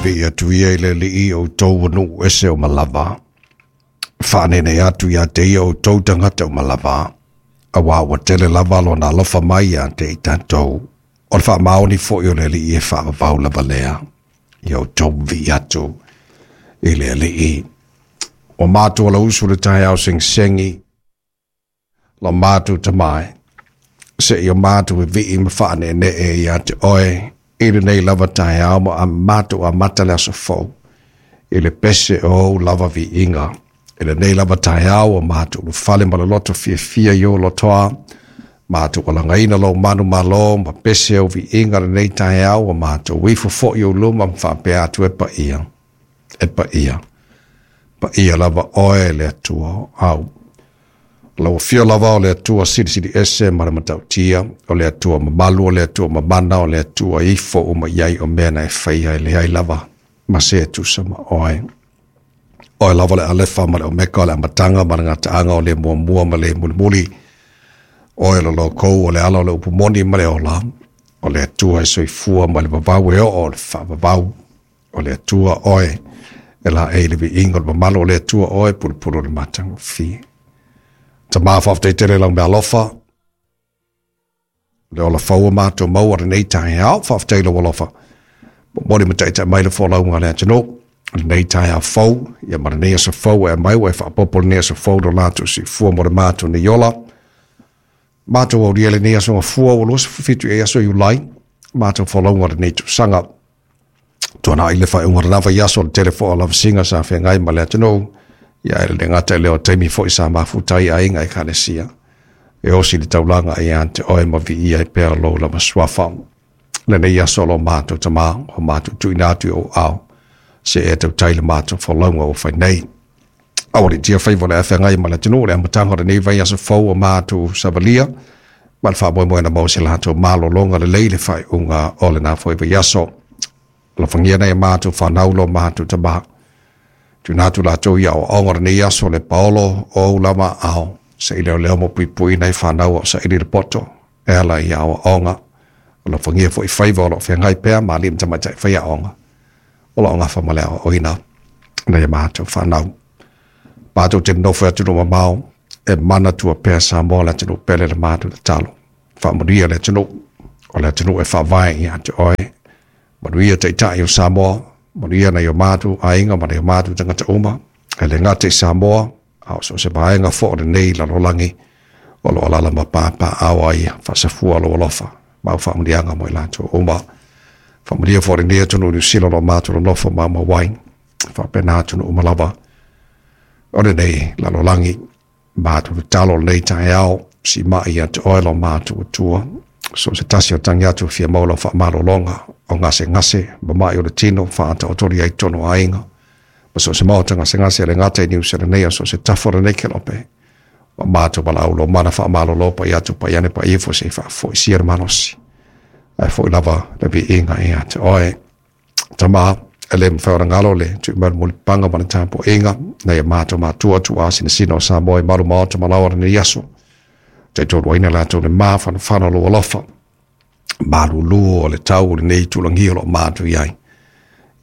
Vivii atu ia i le Alii o outou o nuu ese uma lava. Faaneenee atu ia te ia o outou tagata uma lava, auā ua tele lava Lona alofa mai ia te i tatou. O le faamaoni foi o le Alii e faavavau lava lea. Ia outou vivii atu i le Alii. Ua matou alausu i le taeao segisegi, lo matou Tama e, seia o matou vivii ma faaneenee ia te Oe i lenei lava taeao ma a matou amata le aso fou i le pese o ou lava viiga. I lenei lava taeao ua matou ulufale ma le loto fiafia i ou lotoa, matou alagaina lou manumalo ma pese ou viiga lenei taeao, ua matou ifo foi i ou luma ma faapea atu e paia, e paia, paia lava oe le Atua au. Lau Afio lava o le Atua Silisili Ese ma le Matautia, o le Atua mamalu, o le Atua mamana, o le Atua e ifo uma i ai o mea na e faia, e leai lava ma se e tusa ma oe. Oe lava le Alefa ma le Omeka, o le amataga ma le gataaga, o le muamua ma le mulimuli. Oe o le lokou, o le ala o le upu moni ma le ola, o le Atua e soifua mai le vavau e oo i le faavavau. O le Atua oe e laei le viiga o le mamalu, o le Atua oe e pulupulu i le matagofie. Tama, faafetai tele i lau meaalofa, le ola fou o matou maua lenei taeao. Faafetai i lou alofa momoli ma taitai mai le folauga a le atunuu lenei taeao fou, ia ma lenei aso fou e aumai ua e faaopoopo lenei aso fou lo latou soifua mo le matou nei ola. Matou aulia lenei aso gafua ua 27 i aso Iulai, matou folauga lenei tausaga. Tuanai le faaiuga o lena vaiaso, le tele foi o lavasiga sa feagai ma le atunuu, ia e le gata i lea o taimi foi sa mafuta ai aiga ekalesia e osi le taulaga ia te oe ma viia ai pea lou lava suafa. Lenei aso o lo matou Tama, o matou tuuina atu i ou ao, se e tautai le matou folauga ua fai nei. Aualiitia faiva o le a feagai ma le atunuu le amataga o lenei vaiaso fou o matou savalia, ma le faamoemoe na maua se latou malologa lelei le faaiuga o lena foi vaiaso. Alofagia nai a matou fanau lo matou Tama. Tuuina atu latou i aoaoga o lenei aso le paolo o ou lava ao, se i leoleo ma puipui nai fanau o saili le poto e ala i aoaoga. Alofagia foi faiva o lo o feagai pea ma alii ma tamaitai faiaoga o lo o gafa ma le aoaoina nai a matou fanau. Matou te nonofo i atunuu mamao e manatua pea Samoa le atunuu pele le matou tatalo. Faamanuia le atunuu, o le atunuu e faavae ia te oe. Manuia taitai o Samoa, manuia nai o matou aiga ma nai o matou tagata uma, e le gata i Samoa, a o so o se vaega foi o lenei lalolagi o lo o alaala ma papaaao ai faasafua lou alofa ma au faamanuiaga mo i latou uma. Faamanuia foi lenei atunuu Niu Sila o lo o matou nonofo maumau ai, faapena atunuu uma lava o lenei lalolagi. Matou tatalo lenei taeao, siimai ia te oe lo matou Atua. So o se tasi o tagi atu fia maua lau faamalologa o gasegase, mama'i o le tino, faataotolia ai totonu o aiga. Ma so o se maota gasegase e le gata i Niu Sila nei, a so o se tafa o lenei kelope. O matou valaau lo mana faamalolo pai atu pai ane pai ifo se i faafoisia le malosi. Ae foi lava le viiga ia te oe. Tama, e le mafai ona galo le tui mai o le mulipapaga ma le tapuaiga nai a matou matua tuua sinasina o Samoa i malu maota ma laoa lenei aso. Taitoluaina latou le mafanafana o lou alofa, malulu o le tau o lenei itulagi o lo o matou i ai.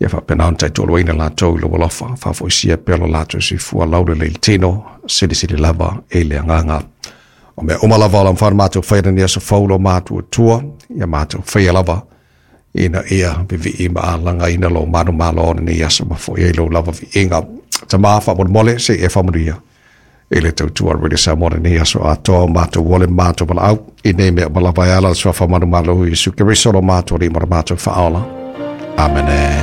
Ia faapena ona taitoluaina latou i lou alofa, faafoisia pea lo latou soifua laulelei i le tino, silisili lava i le agaga. O mea uma lava o la mafai ona matou faia lenei aso fou lo matou Atua, ia matou faia lava ina ia vivii ma alagaina lou manumalo o lenei aso ma foi ai lou lava viiga. Tama, faamolemole, se i e faamanuia i le tautua a Radio Samoa lenei aso atoa o matou ole ma matou valaau i nei mea uma lava e ala le suafa manumalo o Iesu Keriso lo matou Alii ma lo matou Faaola. Amene.